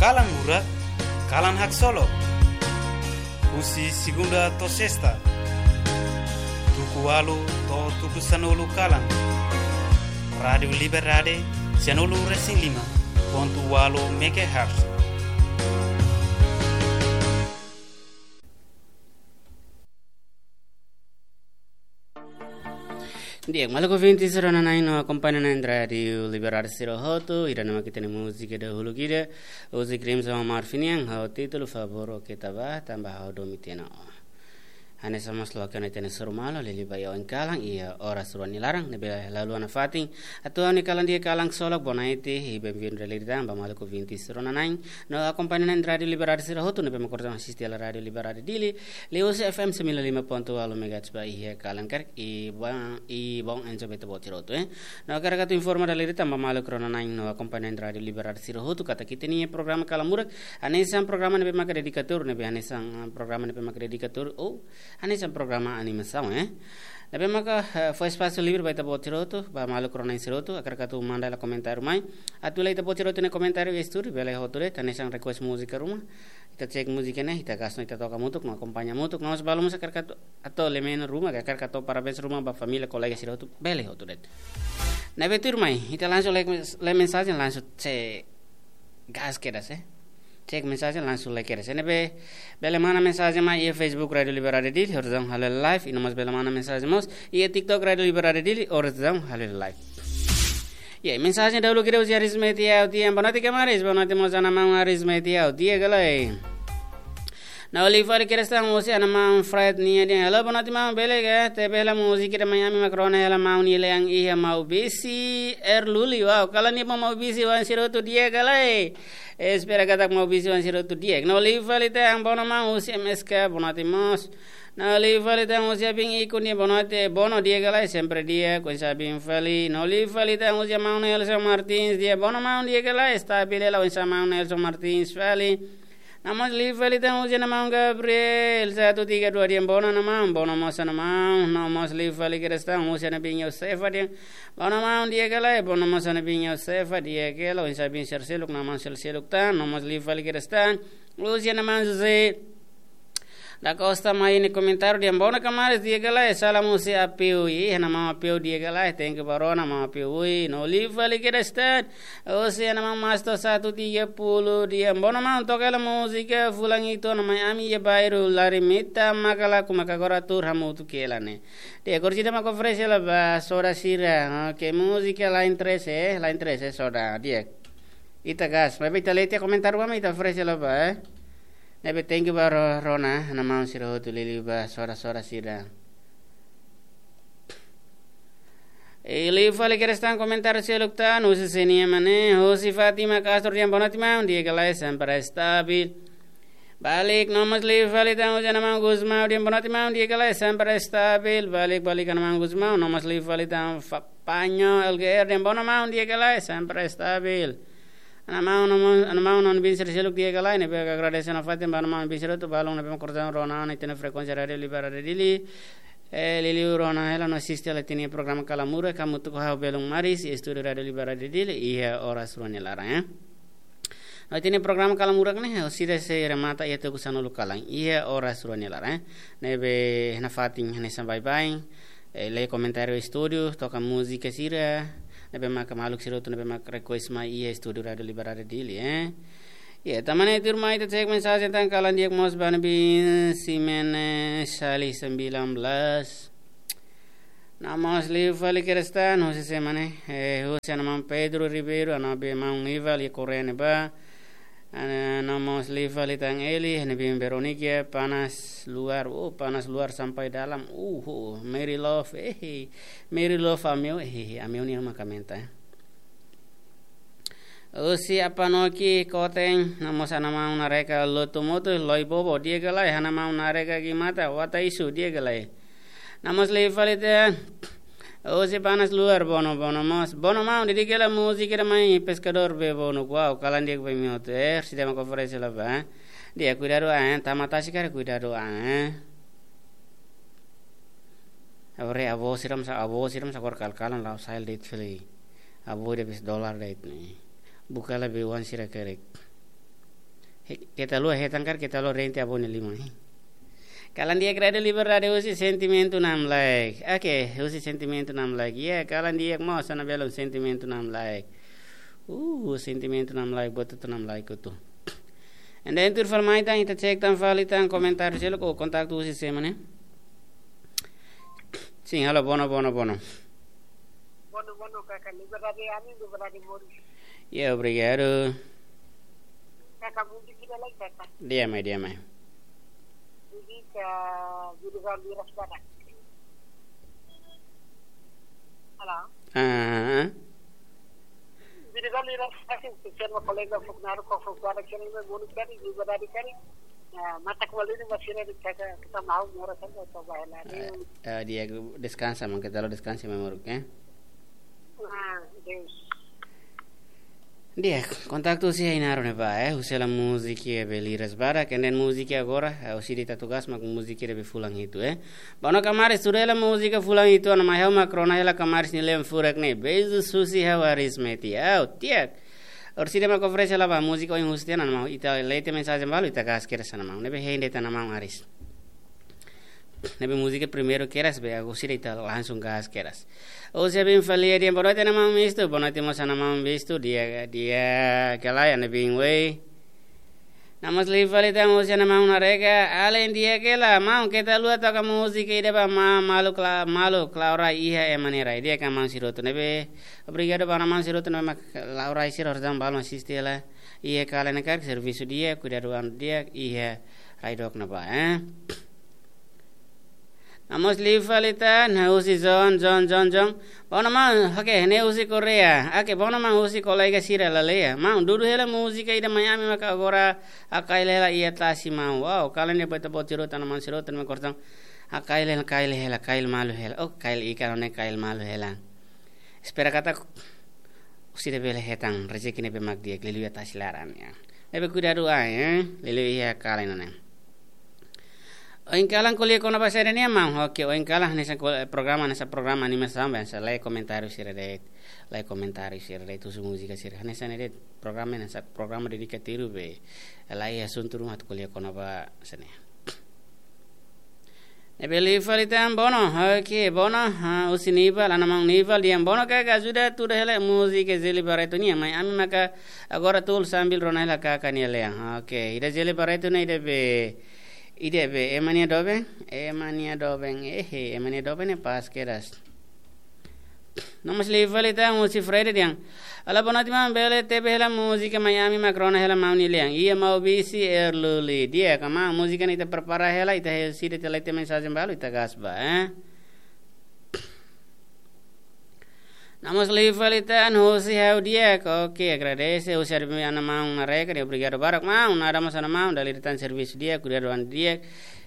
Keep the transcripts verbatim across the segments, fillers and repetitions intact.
Kalan Murak, kalan haksolok. Husi segunda to'o sesta, tuku ualu to'o tuku sanulu kalan. Rádiu Liberdade, sanulu resin lima pontu ualu megahertz. Di'ak, maluk ouvinte sira-ne'e no akompaña na'in Rádiu Liberdade sira hotu, ida-ne'e mak ita-nia múzika dahuluk ida, husi Crimson Marfinian, ho títulu Favór Oke Taba, Tanba Ha'u Domin Tiha ona Ó. Hanesan mós loke ona ita-nia sorumalu, liuliu ba iha oin kalan, iha oras rua nia laran, ne'ebé la haluha nafatin atu ha'u-nia kalan di'ak, kalan ksolok, bonaite, i benvindu dala ida tan ba maluk ouvinte sira-ne'e na'in no akompaña na'in Rádiu Liberdade sira hotu ne'ebé mak orsida asiste hela Rádiu Liberdade Dili, liuhusi F M sembilan lima pontu ualu megahertz ba iha kalan karik, i bom, i bom enjo ba ita-boot sira hotu, eh. No hakarak atu informa dala ida tan ba maluk rona na'in no akompaña na'in Rádiu Liberdade sira hotu katak ita-nia programa Kalan Murak hanesan programa ne'ebé maka dedikatóriu, ne'ebé hanesan, ah, programa ne'ebé maka dedikatóriu, ou hanesan programa animasaun, eh. Ne'ebé maka, eh, fó espasu livre ba ita-boot sira hotu, ba maluk rona na'in sira hotu, hakarak atu manda hela komentáriu mai. Atu hela ita-boot sira hotu nia komentáriu iha estúdiu, bele hotu de'it, hanesan request múzika ruma. Ita cek múzika ne'e, ita gas no ita toka hamutuk, no akompaña hamutuk, no mós balu mós hakarak atu, atu lee memes ruma, hakarak atu parabéns ruma ba família, kolega sira hotu, bele hotu de'it. Ne'ebé tuirmai, ita langsung lee, lee mensajen, langsung cek gas kedas, eh. Cek mensajen langsung lee kedas. Ne'ebé bele manda mensajen mai iha Facebook Rádiu Liberdade Dili, oras daudaun halo live, i no mós bele manda mensajen mós iha TikTok Rádiu Liberdade Dili, oras daudaun halo live. Ya, mensajen dahuluk ida husi Arismetia Autian, boa noite kamaris, boa noite mós ana maun Arismetia Autian, di'ak ka lae. No liu fali kedas tan husi ana maun Fred nian dehan: Halo, boa noite maun, bele ka? Tebe hela múzika ida mai ami mak rona hela maun nia lean iha Maubisse, Erluli, wow, kalan ida ba Maubisse, oan sira hotu di'ak ka lae? Espera katak Maubisse oan sira hotu di'ak. No liu fali tan Bono maun husi M S K, boa noite mós. No liu fali tan husi Abin Iku nia, boa noite, Bono di'ak ka lae? Sempre di'ak, oinsá Abin fali. No liu fali tan husi maun Nelson Martins, di'ak Bono maun, di'ak ka lae? Stabil hela, oinsá maun Nelson Martins fali. No mós liu fali tan husi ana maun Gabriel, satu tiga dua dehan: Bono ana maun, Bono mós ana maun. No mós liu fali kedas tan husi ana bin Yosefa dehan: Bono maun, di'ak ka lae? Bono mós ana bin Yosefa, di'ak hela, oinsá bin sira seluk, no maun sira seluk tan. No mós liu fali kedas tan husi ana maun José da Costa mai nia komentáriu dehan: Bono kamaris, di'ak ka lae? Salam husi Apiu. Ih, ana maun Apiu, di'ak ka lae? Thank you ba rona maun Apiu. Ui, no liu fali kedas tan husi ana maun Masto satu tiga puluh dehan: Bono maun, toka hela múzika fulan ida ona mai ami iha bairru Larimita, maka laku maka agora tuur hamutuk hela ne'e. Di'ak, orsida mak oferese hela ba soda sira. Oke, múzika lain trese, eh, lain trese soda. Di'ak. Ita gas, maibé ita lee tiha komentáriu ami, ita oferese hela ba, eh. Ne'ebé thank you ba ro-, rona, ana maun sira hotu, liuliu ba soda-soda sira. I liu fali kedas tan komentáriu seluk tan, husi Senia Mane, husi Fátima Castro dehan: Boa noite maun, di'ak ka lae? Sempre stabil. Balik, no mós liu fali tan husi ana maun Gusmão dehan: Boa noite maun, di'ak ka lae? Sempre stabil. Balik, balik ana maun Gusmão, no mós liu fali tan Fa-, Panho L G R dehan: Bono maun, di'ak ka lae? Sempre stabil. Ana maun, no mós, ana maun, no bin sira seluk, di'ak ka lae? Ne'ebé agradese nafatin ba ana maun bin sira hotu, balun ne'ebé mak orsida rona ona ita-nia frekuénsia Rádiu Liberdade Dili. Eh, liuliu rona hela no asiste hela ita-nia programa Kalan Murak, hamutuk ho ha'u Belun Maris, estúdiu Rádiu Liberdade Dili, iha oras rua nia laran, eh. No ita-nia programa Kalan Murak ne'e, orsida sei remata iha tuku sanulu kalan, iha oras rua nia laran, eh. Ne'ebé nafatin hanesan baibain, eh, lee komentáriu estúdiu, toka múzika sira ne'ebé maka maluk sira hotu ne'ebé maka request mai iha estúdiu Rádiu Liberdade Dili, eh. Ya, tan ne'e tuirmai ita cek mensajen tan, kalan di'ak mós ba ana bin Simene Sali sembilan belas. No mós liu fali kedas tan husi sé mak ne'e, eh, husi ana maun Pedro Ribeiro, ana bin maun Nival iha Korea ne'ebá. Ana, no mós liu fali tan Eli, ana bin Veronica, panas luar, oh, panas luar sampai dalam, uh, uh, Mary Love, eh, Mary Love Ameu, eh, Ameu nian mak komenta, eh. Husi Apanoki Koteng, no mós ana maun Nareka Lotumutu, Loi Bobo, di'ak ka lae? Ana maun Nareka Gimata, Wata Isu, di'ak ka lae? No mós liu fali tan husi panas luar, Bono, Bono mós. Bono maun, didik hela múzika ida mai Pescador Bee Bono, wow, kalan di'ak ba imi hotu, eh, orsida mak oferese hela ba. Di'ak, kuidadu an, eh, tama tasi karik kuidadu an, eh. Agora avó sira mós, avó sira mós agora kal-kalan la'o sa'e de'it fali. Avó ida bis dolar de'it ne'e. Buka hela be oan sira karik. Keta haluha hetan karik, keta haluha rente avó nia liman. Kalan di'ak, Rádiu Liberdade husi sentimentu namlaek. Oke, husi sentimentu namlaek. Ya, kalan di'ak mós, hanesan belun sentimentu namlaek. Uh, sentimentu namlaek, buat hotu namlaek hotu. Entaun tuir fali mai tan, ita cek tan fali tan komentáriu seluk, kontaktu husi sé mak ne'e? Sin, halo, bono, bono, bono. Bono, bono, kaka, liberdade ami, liberdade moris. Ya, obrigadu. Kaka, múzika ida lai, kaka. Di'ak mai, di'ak mai. Múzika, Júlio Vieira Espada. Halo? Ah. Júlio Vieira Espada, sin, sin, kolega, fuknaru, kofo, kuadra, kene, me, múzika, liberdade, kene. Ah, mata kuali ni masih ada di kaka, kita mau mora kan, atau bahaya lagi. Eh, eh, di'ak, deskansa, maun, keta haluha deskansa, maun, oke? Ah, Deus. Di'ak, kontaktu husi Ainaro ne'ebá, eh, husi hela múzika be liras barak, entaun múzika agora, eh, husi ita tugas mak múzika be fulan hitu, eh. Bono kamaris, tuur hela múzika fulan hitu, ona mai ha'u mak rona hela kamaris nia lean furak ne'e, beijos husi ha'u Aris Meti, au, di'ak. Orsida mak oferese hela ba múzika ohin husi tiha ona, maun, ita lee tiha mensajen balu, ita gas kedas ona, maun, ne'ebé hein de'it ona, maun Aris. Ne'ebé múzika primeiru kedas be, agora sira ita langsung gas kedas. Husi Abin Falia dehan boa noite ona maun Mistu, boa noite mós ona maun Mistu, di'ak, di'ak ka lae, ne'ebé wei. Namós liu fali tan husi ona maun Nareka, alin di'ak hela, maun keta haluha toka múzika ida ba ma-, maluk la-, maluk la'o rai iha ema nia rai, di'ak ka maun sira hotu ne'ebé. Obrigadu ba ona maun sira hotu ne'ebé mak la'o rai sira hotu tan balun asiste hela. Iha kalan ne'e karik servisu di'ak, kuidadu an di'ak, iha rai dook ne'ebá, eh. Namós liu fali tan, husi John, John, John, John. Bono maun, oke, ne'e husi Korea. Oke, bono maun husi kolega sira lalehan. Maun, dudu hela múzika ida mai ami maka agora hakail hela iha tasi maun. Wow, kalan ne'e buat boot sira hotu ona maun sira hotu ne'ebé kortang. Hakail hela, kail hela, kail malu hela. Oh, kail ikan ne'e kail malu hela. Espera katak sira bele hetan rezeki ne'ebé mak di'ak liuliu iha tasi laran, ya. Ne'ebé kuidadu an, ya. Liuliu iha kalan ne'e. Ohin kalan ko'alia kona-ba saida nian maun, oke, ohin kalan hanesan ko-, programa, hanesan programa animasaun be, hanesan lee komentáriu sira de'it, lee komentáriu sira de'it, husu múzika sira, hanesan ne'e de'it programa, hanesan programa dedika tiru be, laiha asuntu ruma atu ko'alia kona-ba sira-ne'e. Ne'ebé liu fali tan bono, oke, bono, ha, husi Nival, ona maun Nival, dehan bono kaka ajuda tuur hela múzika Zeli Barreto nian, mai ami maka agora tuur sambil rona hela kaka nia lean. Oke, ida Zeli Barreto ne'e ida be, ida be, ema nia doben, ema nia doben, ehe, ema nia doben ne'e pas kedas. Nomós liu fali tan husi Fred dehan. Olá, boa noite, maun. Bele tebe hela múzika mai ami mak rona hela maun nia lean. Iha Maubisse, Erluli. Di'ak ka maun, múzika ne'e ita prepara hela, ita he sida ita lee tiha mensajen balu, ita gas ba, eh. Nomós liu fali tan husi ha'u di'ak. Oke, agradese husi Armin ona maun Nareka, dehan obrigadu barak maun, nada mós ona maun, dala ida tan servisu di'ak, kuidadu an di'ak.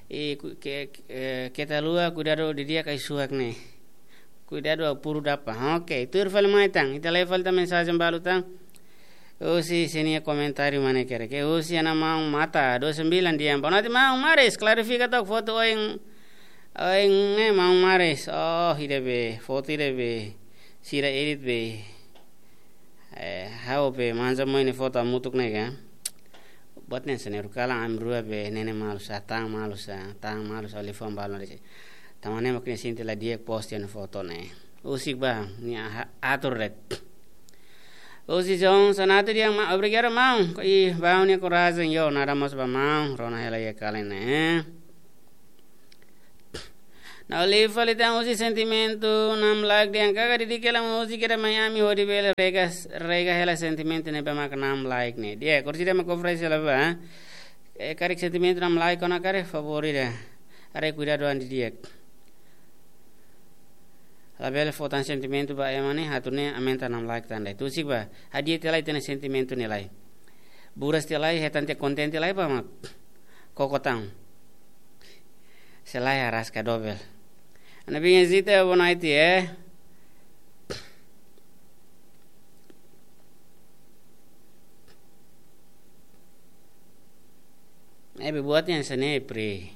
I ku-, ke-, ke-, eh, keta haluha, kuidadu didi'ak ai-suak ne'e. Kuidadu au puru dapa. Oke, tuur fali mai tan. Ita lee fali tan mensajen balu tan. Husi sira-nia komentáriu mak ne'e karik. Husi ona maun Mata, dua sembilan dehan. Boa noite maun Maris, klarifika tok foto ohin, ohin ne'e maun Maris. Oh, ida be, foto ida be. Sira edit be. Eh, ha'u be manja mai nia foto hamutuk ne'e ka. Buat ne'e sene ru kalan ami rua be nene malu sa, tan malu sa, tan malu sa, liafuan balu de'it. Tanba ne'e mak nia sente la di'ak post nia foto ne'e. Husik ba, nia ha-, atur de'it. Husi João Sanato dehan ma-, obrigadu maun. Ih, ba nia korajen yo, nada mós ba maun, rona hela iha kalan ne'e. Ha'u liu fali tan husi sentimentu namlaek dehan kaka dedika hela múzika ida mai ami hodi bele rega, rega hela sentimentu ne'ebé mak namlaek ne'e. Di'ak, orsida mak oferese hela ba. Eh, karik sentimentu namlaek ona karik favór ida. Haree kuidadu an didi'ak. Labele fó tan sentimentu ba ema ne'e, atu ne'e aumenta namlaek tan de'it. Husik ba, hadi'a tiha lai ita-nia sentimentu ne'e lai. Buras tiha lai, hetan tiha kontente lai ba mak koko tan. Se lae araska dobel. Ana binha zita, boa noite, eh. Ne'ebé buat hanesan ne'e, pri.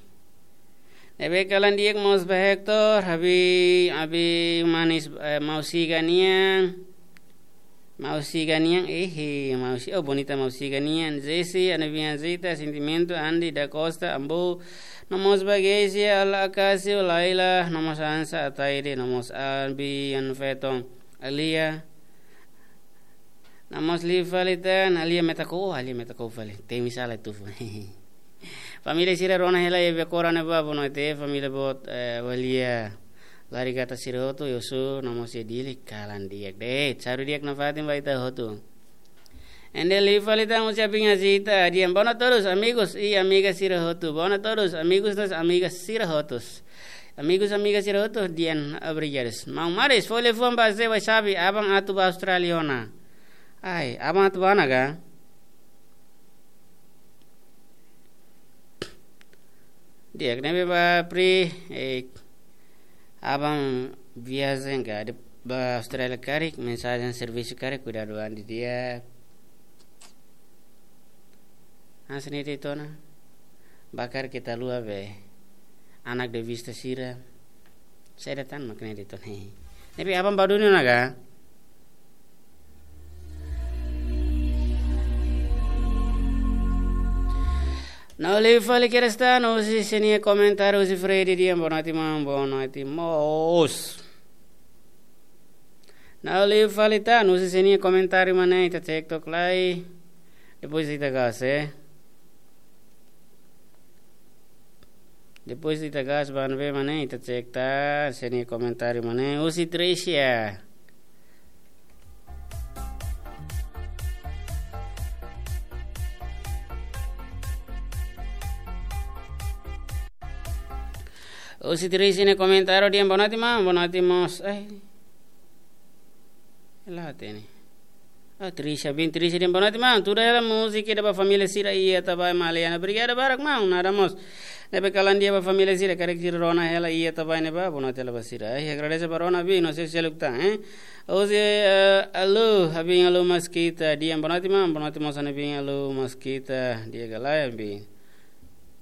Ne'ebé kalan di'ak mós ba Hector, abi, abi manis, eh, mau siga nian. Mausi Ganian, eh, eh, Mausi, oh, bonita Mausi Ganian. Jesse, Ana Bian Zita, Sentimentu, Andi da Costa, Ambo. No mós ba Geisia, Ala Acacio, Laila, no mós Ansa, Ataide, no mós Albi, Anfeton, Alia. No mós liu fali tan, Alia Metako, oh, Alia Metako fali. Temi sala tu. Família sira rona hela iha Becora ne'ebá, bonoite, família boot, eh, Walia. Lari gata sira hotu, Yosu, no mós iha Dili, kalan di'ak de'it. Saru di'ak nafatin ba ita hotu. Ende liu fali tan husi Abin Azita, di'ak. Boa noite a todos, amigos e amigas sira hotu. Boa noite a todos, amigos no amigas sira hotu. Amigos, amigas sira hotu, di'ak, obrigadu. Maun Maris, fó liafuan ba Zé Wasabi, aban atu ba Austrália ona. Ai, aban atu ba ona ka? Di'ak, ne'ebé ba Pri, eh, aban viajen ka, de, ba Austrália karik, mensajen servisu karik, kuidadu an di'ak. Hanesan ne'e de'it ona. Ba karik ita haluha be anak de vista sira. Saida tan mak ne'e de'it ona. Ne'ebé aban ba duni ona ka? No liu fali kedas tan, husi sira-nia komentáriu, husi Freddy, di'ak, boa noite maun, boa noite mós. No liu fali tan, husi sira-nia komentáriu mak ne'e, ita cek took lai. Depois ita gas, eh. Depois ita gas ba ne'ebé mak ne'e, ita cek tan, sira-nia komentáriu mak ne'e, husi Tricia. Husi Tricia nia komentáriu, di'ak, boa noite maun, boa noite mós. Ai. Hela hatene. Ah, Tricia, bin Tricia, di'ak, boa noite maun. Tuda hela múzika ida ba família sira iha Atabae, Maliana. Obrigadu barak maun, nada mós. Ne'ebé kalan di'ak ba família sira, karik sira rona hela iha Atabae ne'ebá, boa noite hela ba sira. Ai, agradese ba rona, bin, no sei se lukta, eh. Husi, eh, Alu, Abin Alu Maskita, di'ak, boa noite maun, boa noite mós Ana Bin Alu Maskita, di'ak ka lae, bin.